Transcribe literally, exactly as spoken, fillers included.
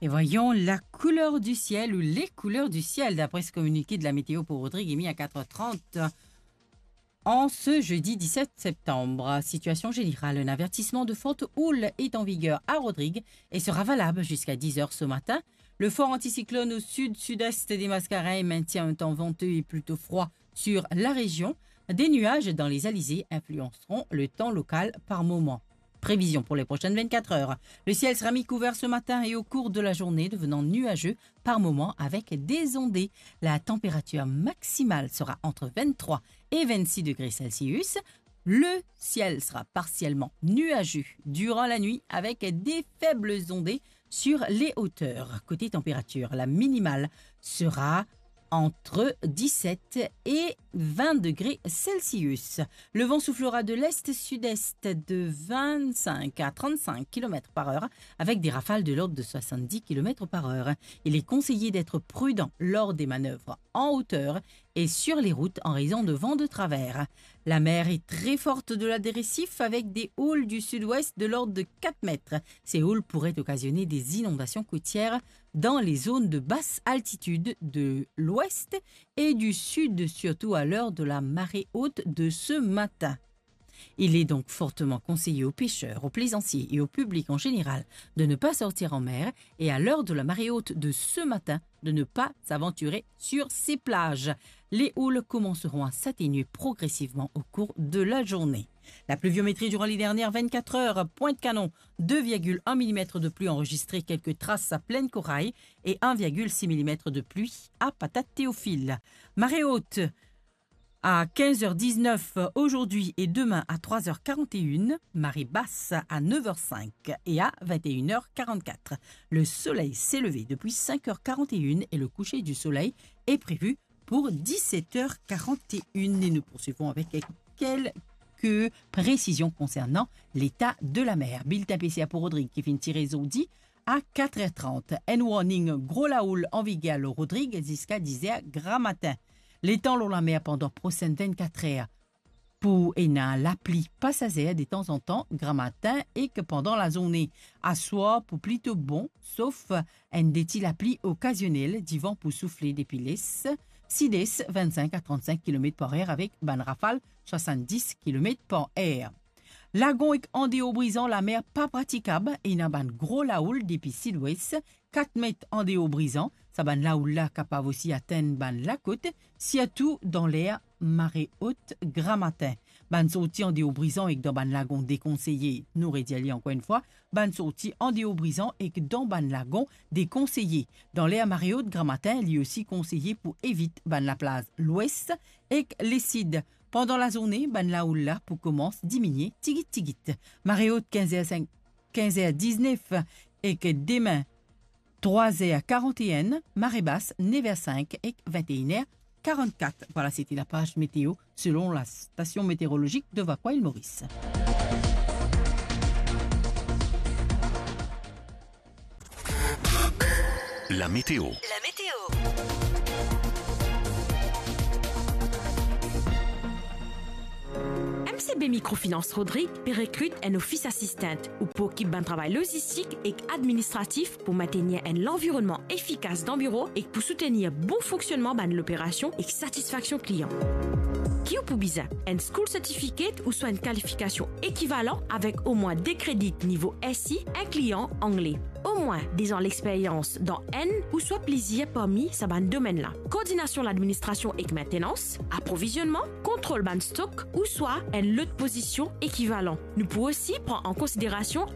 Et voyons la couleur du ciel ou les couleurs du ciel, d'après ce communiqué de la météo pour Rodrigues émis à quatre heures trente en ce jeudi dix-sept septembre. Situation générale, un avertissement de forte houle est en vigueur à Rodrigues et sera valable jusqu'à dix heures ce matin. Le fort anticyclone au sud-sud-est des Mascareignes maintient un temps venteux et plutôt froid sur la région. Des nuages dans les alizés influenceront le temps local par moments. Prévision pour les prochaines vingt-quatre heures. Le ciel sera mi-couvert ce matin et au cours de la journée, devenant nuageux par moments avec des ondées. La température maximale sera entre vingt-trois et vingt-six degrés Celsius. Le ciel sera partiellement nuageux durant la nuit avec des faibles ondées sur les hauteurs. Côté température, la minimale sera entre dix-sept et vingt degrés Celsius. Le vent soufflera de l'est-sud-est de vingt-cinq à trente-cinq kilomètres par heure, avec des rafales de l'ordre de soixante-dix kilomètres par heure. Il est conseillé d'être prudent lors des manœuvres en hauteur et sur les routes en raison de vents de travers. La mer est très forte au-delà des récifs avec des houles du sud-ouest de l'ordre de quatre mètres. Ces houles pourraient occasionner des inondations côtières dans les zones de basse altitude de l'ouest et du sud, surtout à l'heure de la marée haute de ce matin. Il est donc fortement conseillé aux pêcheurs, aux plaisanciers et au public en général de ne pas sortir en mer et à l'heure de la marée haute de ce matin de ne pas s'aventurer sur ces plages. Les houles commenceront à s'atténuer progressivement au cours de la journée. La pluviométrie durant les dernières vingt-quatre heures, Pointe-Canon, deux virgule un millimètres de pluie enregistrée, quelques traces à Plaine-Corail et un virgule six millimètres de pluie à Patate-Théophile. Marée haute à quinze heures dix-neuf aujourd'hui et demain à trois heures quarante et une, marée basse à neuf heures cinq et à vingt et une heures quarante-quatre. Le soleil s'est levé depuis cinq heures quarante et une et le coucher du soleil est prévu pour dix-sept heures quarante et une. Et nous poursuivons avec quelques précisions concernant l'état de la mer. Bilten P C A pou Rodrig ki finn tire zordi a quatre heures trente. Enn warning gro laoul an viger lor Rodrig ziska diz er gramatin. Letan lor lamer pandan prosenn vinnt-kat er pou ena lapli pasazer detanzantan gramatin ek pandan lazourne. Aswar pou plito bon, sof enn de ti lapli okazionel, divan pou soufle depi les, sides, vinnt-sink a trant-sink kilomet par er avek bann rafal swasann-dis kilomet par er. Lagon ek andeor Brizan, lamer pa pratikab, ena bann gro laoul depi sidwes, kat met andeor Brizan. Sa bann laoul la kapav osi atenn bann lakot, sirtou dan ler mare ot gramatin. Bann sorti andeor Brizan ek dan bann lagon dekonseye. Nou redir li ankor enn fwa, bann sorti andeor Brizan ek dan bann lagon dekonseye. Dan ler mare ot gramatin, li osi konseye pou evit bann laplaz lwes ek lesid. Pandan lazourne, bann laoul la pou koumans diminie tigit tigit. Mare ot kinz er sink, kinz er diznef ek demin trwa er karant-enn, mare bas nef er sink ek vinnt-enn er karant-kat. Vwala, sete lapaz meteo selon la Station Météorologique de Vacoas, Île Maurice. La météo. La météo. M C B Microfinance Rodrig pe rekrit enn office assistant ou pou okip bann travay lozistik ek administratif pou maintenir enn lanvironnman efikas dan biro ek pou soutenir bon fonksionnman bann loperasion ek satisfaksion klian. Ki ou pou bizin? Enn school certificate ouswa enn kalifikasion ekivalan avek omwin de kredi nivo S I, inklian angle. Omwin dez an lexperyans dan enn ouswa plizier parmi sa bann domenn la. Koordinasion ladministrasion ek maintenans, aprovizionman, kontrol bann stok ouswa enn lot pozision ekivalan. Nou pou osi pran an konsiderasion